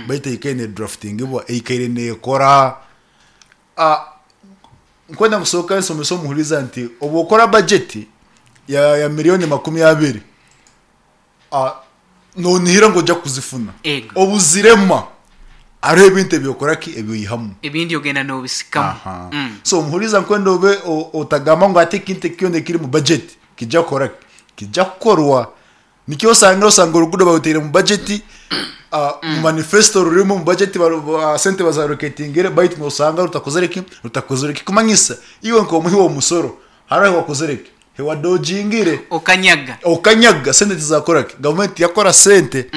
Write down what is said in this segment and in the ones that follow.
Baitu eikaire nedraftingibwa, eikaire nekora. Nkwenda kusooka nsomese omuhuriza nti obu okora bajeti ya miriyoni 20, nonihira ngu oija kuzifuna. Obu zirema, hariho ebintu ebi okora ki? Ebi oihamu. Ebindi ogenda nobisikamu. So omuhuriza nkwenda obe otagamba ngu hati ekintu eki kyona ekiri omu bajeti kija kukora ki? Kija kukorwa. Nikyo osanga osanga oruguudo barutaire omu bajeti, omu manifesto rurimu, omu bajeti sente bazaroketingire baitu nosanga rutakozire ki? Rutakozire ekikumanyisa iwe nk'omuhi w'omusoro hariho ahi wakozire ki? Ahi wadojingire. Okanyaga. Okanyaga sente tizakora ki? Gavumenti tiyakora sente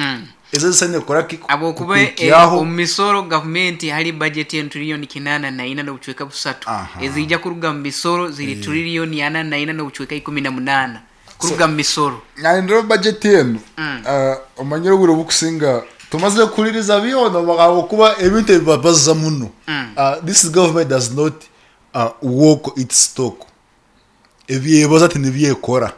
ezo ezisaine kukora ki? Habwokuba Kukuhikyaho. omu misoro gavumenti hali bajeti enu tiririyoni 84 n'obucweka busatu. Eziija kuruga omu misoro ziri tiririyoni 44 n'obucweka 18. Kuruga mu misoro. Nahindura budget enu omanyire obwire obukusinga tumazire kuhuririza byona ahabwokuba ebintu ebi babaza muno this government does not walk its talk ebyebaza tinibyo ekora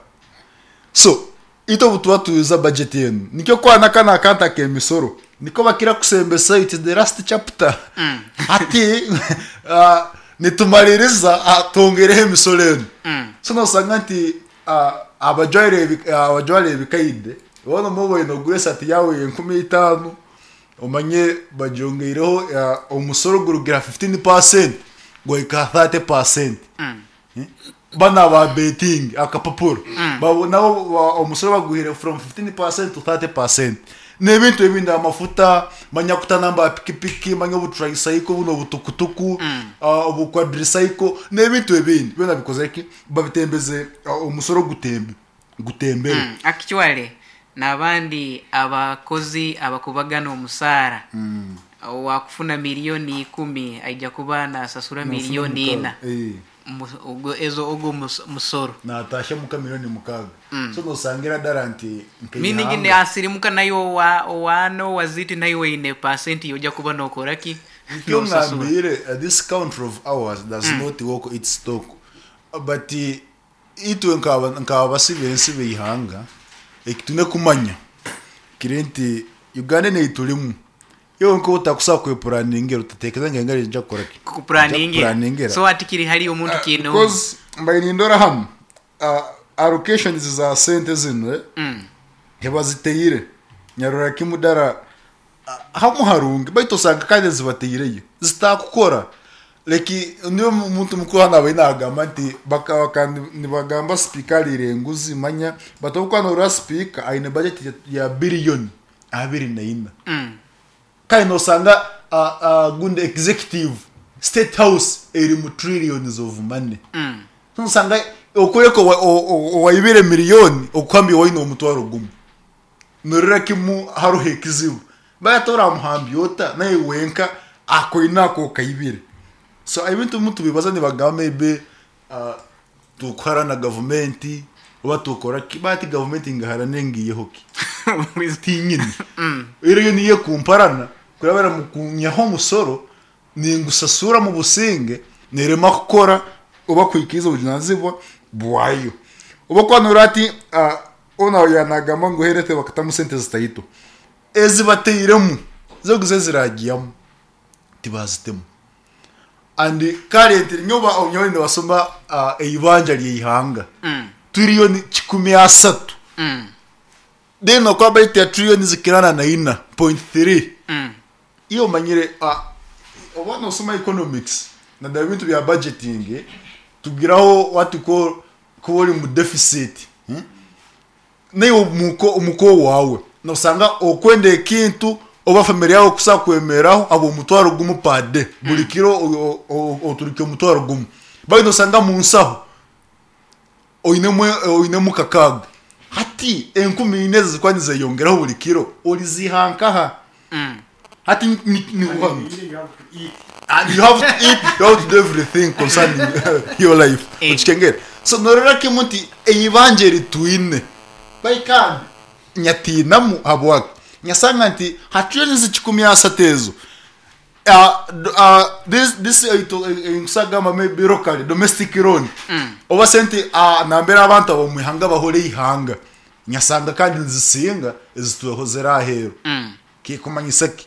so itwe obutuba tuza budget enu nikyo kwana kanu akantu akemisoro niko bakira kusembesa it is the last chapter hati nitumaririza twongereho emisoro enu so nosanga nti Abajwara ebikaide boona obu obaire nogura esaati yaawe y'enkumi itaano omanye bagyongeireho omusoro gurugire aha fifteen paasenti gwahika aha thirty paasenti. Banu aba betingi akapapura nabo omusoro baguhaire from fifteen paasenti to thirty paasenti. N'ebintu ebindi amafuta, manya kutanamba aha pikipiki, manya obu tricycle buno obutukutuku, obu quadricycle n'ebintu ebindi byona bikozire ki? Babitembeze omusoro gutembe gutembere. Actually nabandi abakozi abakubagana omusaara owakufuna miriyoni ikumi aija kuba nasasura miriyoni ina ezo ogwo musoro. Natashya muka miriyoni 6 so nosangira dara nti Meaning nkeihanga. nasirimuka naiwe owa owaana owaziti naiwe oine pasenti yoja kuba nokora ki? Nikyo Nosasura. ngambire this country of ours does not walk its talk but itwe nk'abasi b'ensi b'eihanga eki twine kumanya kiri nti Uganda enu ei turimu iwe nk'obu otakusobola kwepuraningira otatekereza ngu engaro niija kukora ki? Niija Kukupuraningira. kukupuraningira. So hati kiri hali omuntu kiine omu. Because mbaire nindora hanu allocations za sente zinu tibaziteire nyarora kimu dara Hamu harungi baitu osanga kandi ezibataireyo zitakukora like nyowe omuntu mukuru hanu abaire nagamba nti bakaba nibagamba sipiika ariire enguzi manya but obu okuba norora sipiika aine budget ya billion 24 kandi nosanga gundi executive state house erimu trillions of money nosanga okworeka owaibire million okuhambya owaine omutwaro gumwe. Norora kimu haroho ekizibu. Baitu oramuhambya ota naiwe wenka akoine ako okaibire. So ebintu ebimwe tubibaza nibagamba maybe tukuharana gavumenti oba tukora ki baitu hati gavumenti ngiharane ngiiheho ki? Tinyine. Reero yo niyo ekumparana kurabira omu kunyihaho omusoro ningusasura omu businge nerema kukora oba kuhikiiriza obujunanizibwa bwayo. Obu okuba norora hati Onu yaanagamba ngu health bakatamu sente zitaito. Ezi batairemu zo eziraagiyamu tibaazitemu. And currently nyowe nyowe nibasoma eibanja ry'eihanga tiriyoni 130. Then okuba budget ya tiriyoni zikira na naina point three. Iwe omanyire oba noosoma economics naddala ebintu bya budgeting tugiraho what we call Ku ori omu deficit, naiwe omuka owaawe nosanga okwenda ekintu oba family yaawe kusobola kwemereraho ahabw'omutwaro gumwe per day, buri kiro oturukya omutwaro gumwe. Baitu nosanga omu nsaho oinemu oinemu kakaaga. Hati enkumi ina ezo zirikuba nizeyongeraho buri kiro, oriziiha nkaha? Hati ni And you have to eat, you have to do everything concerning your life. Okikengera? So norora kimwe nti eibanja eri twine bai kandi nyatiinamu habwaki? Nyasanga nti hati ezi 130 ezo this this nkusobola kugamba maybe locally domestic loan oba sente nambere abantu ab'omu ihanga bahora eihanga nyasanga kandi nizisinga ezi twehozere aheeru. Kikumanyisa ki?